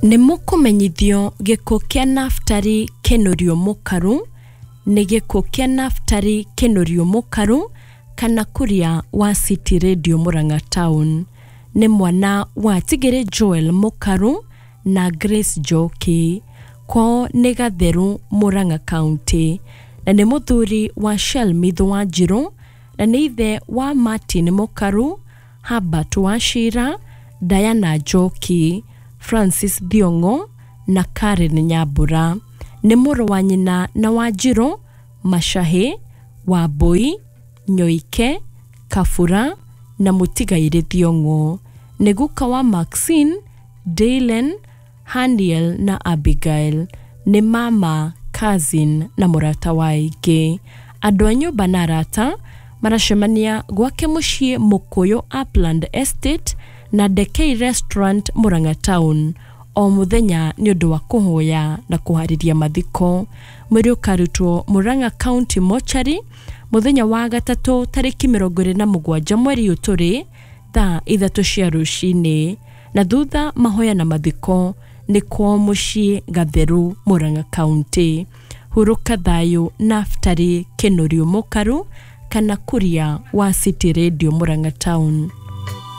Nĩ mũkũmenyithio gĩkuũ kĩa Naftali Kĩnũrio Mũkaru nĩ gĩkuũ kĩa Naftali Kĩnũrio Mũkaru kana Kuria wa City Radio Murang'a Town. Nĩ mwana wa Tigĩrĩ Joel Mũkaru na Grace Njoki. Kwao nĩ Gatheru Murang'a County na nĩ mũthuri wa Shelmith Wanjirũ na nĩ ithe wa Martin Mũkaru, Herbert Wachira, Diana Njoki, Francis Thiong'o na Karen Nyambura. Nĩ mũrũ wa nyina na Wanjirũ, Machahi, Wambui, Nyoike, Kabura na mũtigairĩ Thiong'o. Nĩ guka wa Maxine, Dylan, Haniel na Abigail. Nĩ mama, cousin na mũrata wa aingĩ. Andũ a nyũmba na arata maracemania gwake mũciĩ Mũkũyũ Upland Estate na Dekei Restaurant Murang'a Town o mũthenya nĩ ũndũ wa kũhoya na kũharĩria mathiko. Mwĩrĩ ũkarutwo Murang'a County Mortuary mũthenya wa gatatũ tarĩki 27 mweri ũyũ tũrĩ thaa 3 cia rũcinĩ na thutha mahoya na mathiko nĩ kwao mũciĩ Gatheru Murang'a County. Hurũka thayũ Naftali Kĩnũrio Mũkaru kana Kuria wa City Radio Murang'a Town.